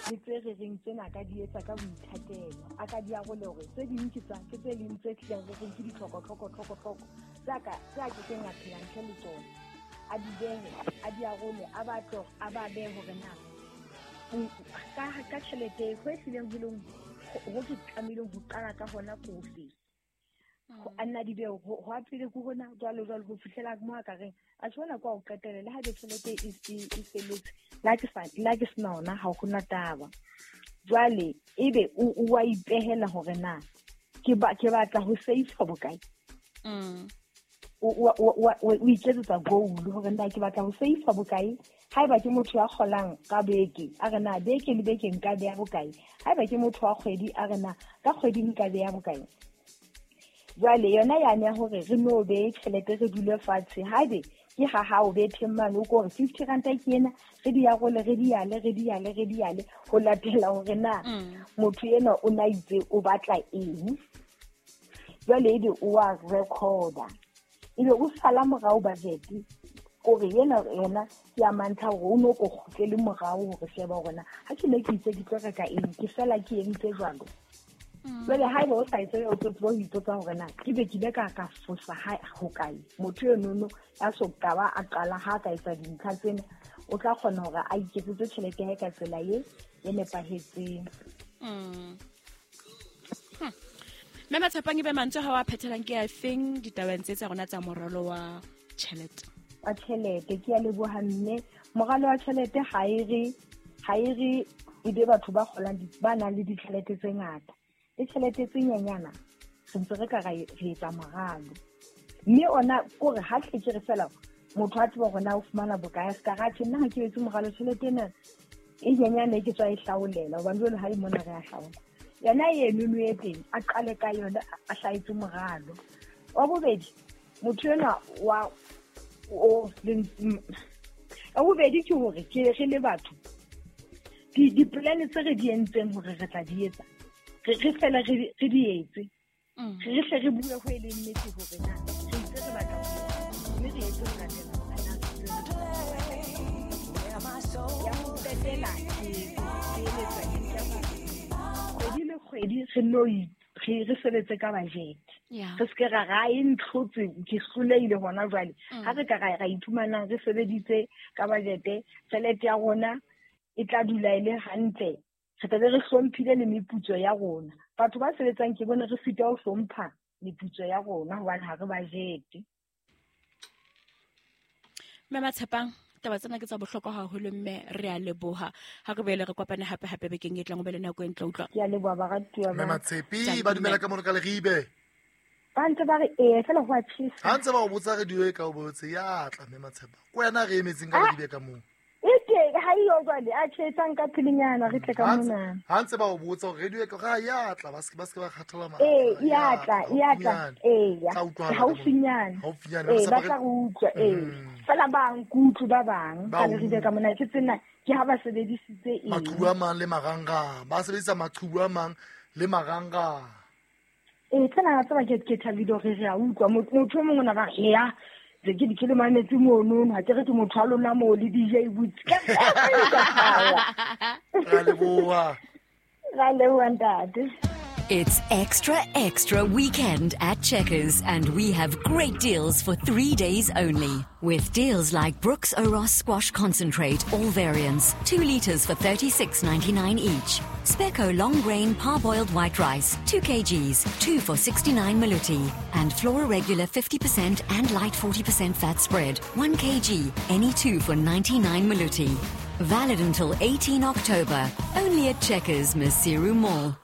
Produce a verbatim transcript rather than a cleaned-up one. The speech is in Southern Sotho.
Le tse re reng tsena ka di etsa ka boithatelo, a ka di arole hore tse ding ke tsa ke tse ding tse tlileng re reng ke ditlhoko tlhoko tlhoko tlhoko tse a ka tse a kekeng a phela ntle le tsona. A di behe, a di arole, a batle a ba behe hore na ka ka tjhelete ho e hlileng ho leng ho ke tlamehileng ho qala ka hona ko fe. Ho a nna di behe ho ho a pele ko hona jwalo jwalo ho fihlela mo a ka reng a tjho bona kwa ho qetela le ha be tjhelete e e e felletse la ke sa la ke sena ona ha ho na taba. Jwale ebe o o wa ipehela hore na ke ba ke batla ho save bokae. Mm. O o o o iketsetsa goal hore na ke batla ho save bokae. Haeba ke motho ya kgolang ka beke, a re na beke le beke nka beha bokae. Haeba ke motho wa kgwedi, a re na ka kgwedi nka beha bokae. Jwale yona yane ya hore re no behe tjhelete re dule fatshe, haebe ke ha hao betheng mane o ko re fifty ranta ke ena, re di arole, re di yale, re di yale, re di yale, ho latela hore na Mm. motho enwa o na itse o batla eng. Jwale ebe o wa recorda, ebe o sala morao budget, kore ena yona ke ya mantlha hore o no ko kgutlele morao hore sheba hore na ha ke ne ke itse ke tlo reka eng, ke fela ke entse jwalo. Mm. Jwale haeba o sa etse o tlo tseba ho ipotsa hore na ke be ke ile ka ka fosa ha hokae. Motho enono ya so ka ba a qala ha ka etsa dintlha tsena, o tla kgona hore a iketsetse tjhelete ya hae ka tsela e, e nepahetseng. Mm. Hmm. Mme Matshepang, ebe mantswe ha wa phethelang ke a feng ditabeng tse tsa rona tsa moralo wa tjhelete? Wa tjhelete, ke a leboha mme. Moralo wa tjhelete ha e re, ha e re e be batho ba kgolang di-, ba nang le ditjhelete tse ngata. Le tjhelete tse nyenyana, re ntse re ka ra e, re etsa moralo. Mme ona kore ha hle ke re fela motho a tseba hore na o fumana bokae, a ska ra tjhe, nna ha ke etse moralo tjhelete ena e nyenyane e ke tswa e hlaolela, hobane jwale ha e mona re a hlaola. Yona eno e teng, a qale ka yona, a hlahetse moralo. Wa bobedi, motho enwa wa o le, m-, wa bobedi ke hore ke re le batho, di, di-plan tse re di entseng hore re tla di etsa, re, re fela re, re di etse. Mm. Re hle re bue ho e leng nnete hore na re itse re batla ho etsa, mme re etse ho latela hore na re itse re batla ho etsa. Ya ho qetela, ke, ke eletsa ke nka hore kgwedi le kgwedi re no i-, re, re sebetse ka budget. Yeah. Re seke ra ra e ntlhotse, ke hlolehile hona jwale. Mm. Ha re ka ra, ra iphumanang re sebeditse ka budget, tjhelete ya rona e tla dula e le hantle. Re tla be re hlomphile le meputso ya rona. Batho ba sebetsang ke bone re sitwa ho hlompha meputso ya rona hobane ha re budget. Mme Matshepang, taba tsena ke tsa bohlokwa haholo mme re a leboha. Ha re boele re kopane hape hape bekeng e tlang, o be le nako e ntle utlwa. Ke a leboha baratuwa Mme ba. Matshepi, Thank ba you, dumela mme. ka mono ka Leribe. Ba ntse ba re ee, fela ho a tjhesa. Ha ntse ba o botsa radio e ka o botse, ya tla mme Matshepa. Ke wena re emetseng ka Ah! Leribe ka moo. E teng, ha eyo jwale, a tjhesang ka pelenyana, re tle ka Ha ntse mona. ha ntse ba o botsa hore radio e ka, ra ya tla, ba se ke, ba se ke ba kgathala matla. Ee, ya Ya tla, tla, ya tla, haufinyane. ee, ya. Tla utlwahala ka mona. Haufinyane. Haufinyane, Ee, ba sa ba ba re tla re utlwa, ee. Mm. Fela ba nkutlwe ba bang, Ba ka Leribe utlwe. ka mona, ke tsena, ke ha ba sebedisitse eng. Maqhubu a mang le marangrang, ba sebedisa maqhubu a mang le marangrang. Ee, tsena wa tseba ke, ke thabile hore re a utlwa. Motho, motho o mongwe o na ba re, eya, ke ke ke le mametse mono, ha ke re ke motho wa lona moo le D J Boots. Ka Ra leboha. Ra leboha, ntate. It's extra, extra weekend at Checkers, and we have great deals for three days only. With deals like Brooks Oros Squash Concentrate, all variants, two litres for thirty-six ninety-nine each. Spekko Long Grain Parboiled White Rice, two kilograms, two for sixty-nine Maluti. And Flora Regular fifty percent and Light forty percent Fat Spread, one kilogram, any two for ninety-nine Maluti. Valid until eighteen October, only at Checkers, Maseru Mall.